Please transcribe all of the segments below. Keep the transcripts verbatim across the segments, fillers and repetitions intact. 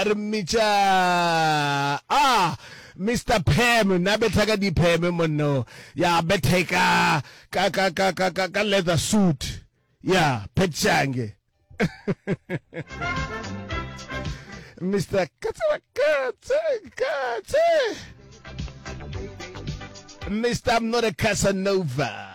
Re mmitša ah Mister Pam, na betha ka dipheme monno. Ya betha ka ka ka ka ka ka, ka leather suit. Ya Pat Shange. Mister Katse Katse Katse. Mister I'm not a Casanova.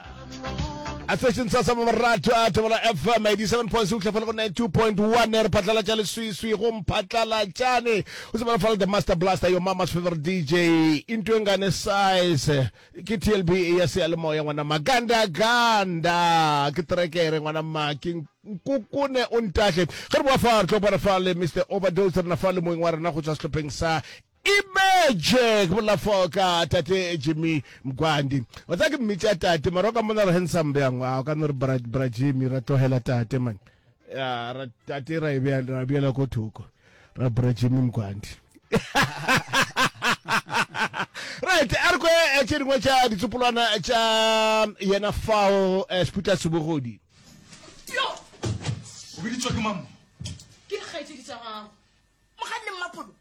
A station sa sa morato a Thobela F M eighty-seven point six go ninety-two point one re phatlalatša leswiswi go mphatlalatšane. O tsebela fala the Master Blaster, your mama's favorite D J, into engane size ke T L B ya seyalemoya ngwana maganda ganda ke trekere ngwana ma ke nkukune o ntahle. Ge re boa fa re tlo bona fa le Mister Overdose, re na fa le moeng wa rena go tswa sehlopheng sa Image, ke bolela fao ka tate Jimmy Mgwandi. Wa tseba ke mmitša tate, mara o ka mmona re handsome bjang? A o ka no re bra, bra Jimmy, ra tlogela tate man. Ya, ra tate ra e bea, ra beela ko thoko. Ra bra Jimmy Mgwandi. Right, a re kwe, eh, tše dingwe tša ditsopolwana tša yena fao, eh, Seputla Sebogodi. Yo! O biditšwe ke mang? Ke dikgaetšedi tša gago. Mogadi le Mmapolo.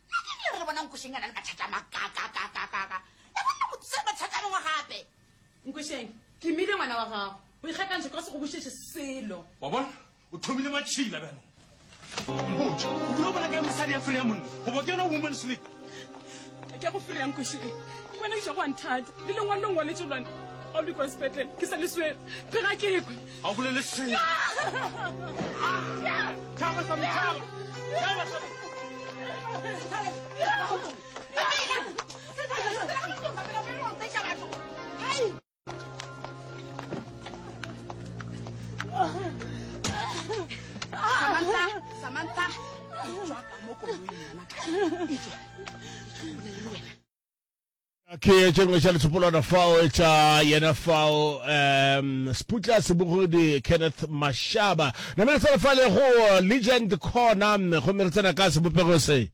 Nna ke re bona Nkošeng a na le mathata a makakakakakaka. Ya bona motho se mathata a mangwe gape. Nkošeng, ke imile ngwana wa gago. O ikgakantšhe ka se go bušetše selo. Wa bona? O thomile matšhila bjalo. Mpotše, o dula o bona kae mosadi ya freya monna? Goba ke yona woman's league? Ke go freya Nkošeng. Ke wena ke tšwa go a nthata. Le lengwalo le ngwaletše lona. Ga o le kwa sepetlele, ke sa le swere. Ke ga ke kwe. Ga o bolele selo. Tšhaba sa me, tšhaba. Tšhaba sa me. Samantha, Samantha, etšwa ka mo koloing ngwanaka. Etšwa. Etšwa, o bolele le wena. Ke tše dingwe tša letsopolwana fao tša yena fao, um Seputla Sebogodi Kenneth Mashaba. Namele tsena fale go Legend Corner, gomme re tsena ka sebopego se.